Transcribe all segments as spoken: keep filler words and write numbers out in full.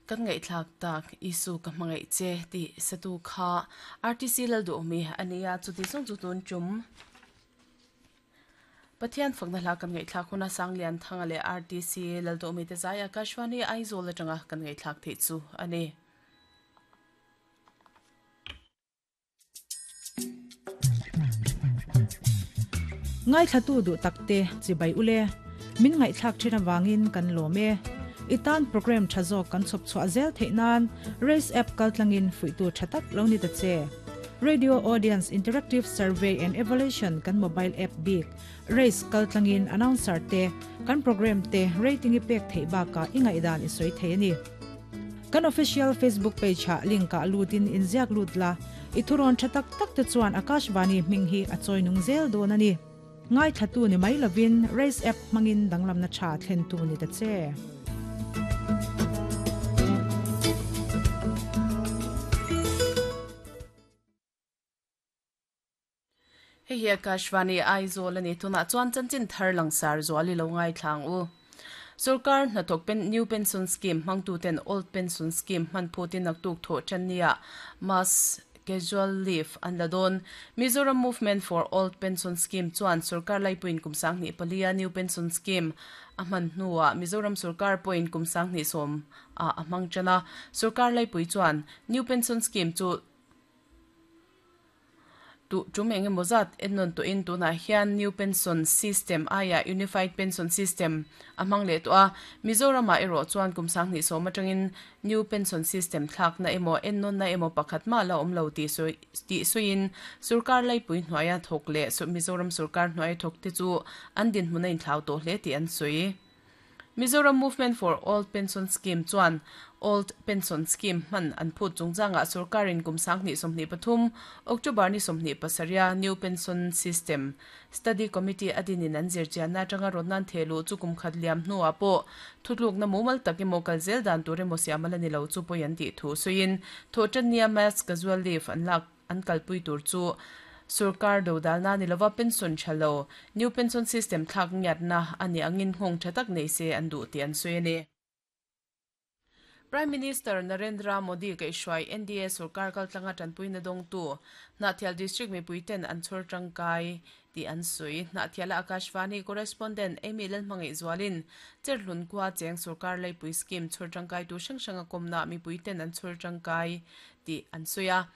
Kan ngaihthlak tak Isu ka hmangaih che tih satu kha R T C Lalduhawmi a nia chuti zawng chu tun tum Pathian fakna hla kan ngaihthlak huna Sanglian Thanga leh R T C Lalduhawmi te zai Akashvani Aizawl atanga kan ngaihthlak theih chu a ni. Ngai thlatu du takte chibai ule min ngai thlak thina wangin kan lome itan program thazo kan chop chwa zel theinan race app kaltlangin fuitu thatak loni ta che Radio Audience Interactive Survey and Evaluation kan mobile app big race kaltlangin announcer te kan program te rating i pek thei ba ka ingai dan i soi thei ni kan official Facebook page ha link ka lutin inziak lutla ithuron thatak tak te chuan Akashvani minghi achoi nung zel don ani ngai thatu ni mai lovin race app mangin danglam na cha thlen tu ni ta che. Hei hi Akashvani Aizawl ani tuna chuan chanchin thar langsar zuali lo ngai thlang u. Sarkar hnathawk pen new pension scheme hmangtu ten old pension scheme hman phutin naktuk tho chania mass casual leave an ladon Mizoram Movement for Old Pension Scheme chuan sarkar laipuin kumsang ni palia new pension scheme a hman hnuah Mizoram sarkar point kumsang ni som a amang chana sarkar laipui chuan new pension scheme chu tu tum enge mozat ennon to in tuna hian new pension system aya unified pension system amang le to a Mizoram a ero chuan kumsang ni so matangin new pension system thlak na emo ennon na emo pakhat ma la omlo ti so ti suin sarkar lai pui hnuaia thok le so Mizoram sarkar hnuai thok te chu an din hmuna in thlau to hle ti an sui Mizoram Movement for Old Pension Scheme chuan Old Pension Scheme man an phut chungchanga sarkarin kumsang ni somni pathum October ni somni pasaria New Pension System Study Committee adinin an zirchian na tanga ronan thelu chukum khatliam hnuwa po thutluk na mumal takimo kalzel dan ture mo siamala ni lo chu poyan ti thu suin thotania mass casual leave an lak an kalpui tur chu sarkar do dalna ni lova pension chalo new pension system thak ngiat na ani angin hong thatak nei se an du ti an suini Prime Minister Narendra Modi ke shwai N D A sarkar kal tlanga tanpui na dong tu Nathial district mi puiten an chor tangkai ti an sui Nathiala Akashvani correspondent Amy Lalmangai Zwalin cherhlun kwa cheng sarkar lai pui scheme chor tangkai tu sang sanga komna mi puiten an chor tangkai ti an suya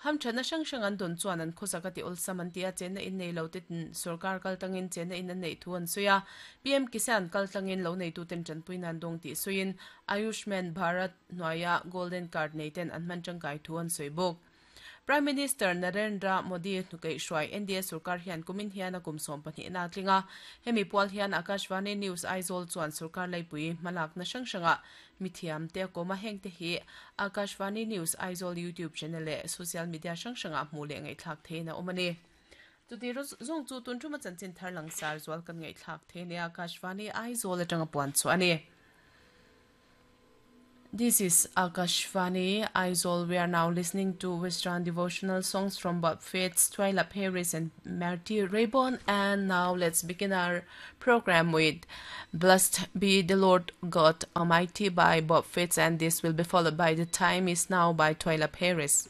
ham thana sang sang an don chuan an khosaka ti olsam an tia chen na in nei lo te sarkar kal tangin chen na in an nei thu an suya P M Kisan kal tangin lo nei tu ten chan pui nan dong ti suin Ayushman Bharat noya golden card nei ten an man tangkai thu an sui bok Prime Minister Narendra Modi hnukai shwai N D A sarkar hian kumin hian a kumsom pahnih na tlinga hemi pual hian Akashvani News Aizawl chuan sarkar laipui malak na sang sanga mithiam te koma heng te hi Akashvani News Aizawl YouTube channel le social media sang sanga hmu le ngai thlak the na omani tuti zong chu tun thuma chanchin thar langsar zual kan ngai thlak the ne Akashvani Aizawl atanga puan chu ani. This is Akashvani Aizawl. We are now listening to Western devotional songs from Bob Fitts, Twyla Paris and Marty Raybon. And now let's begin our program with Blessed Be the Lord God Almighty by Bob Fitts, and this will be followed by The Time Is Now by Twyla Paris.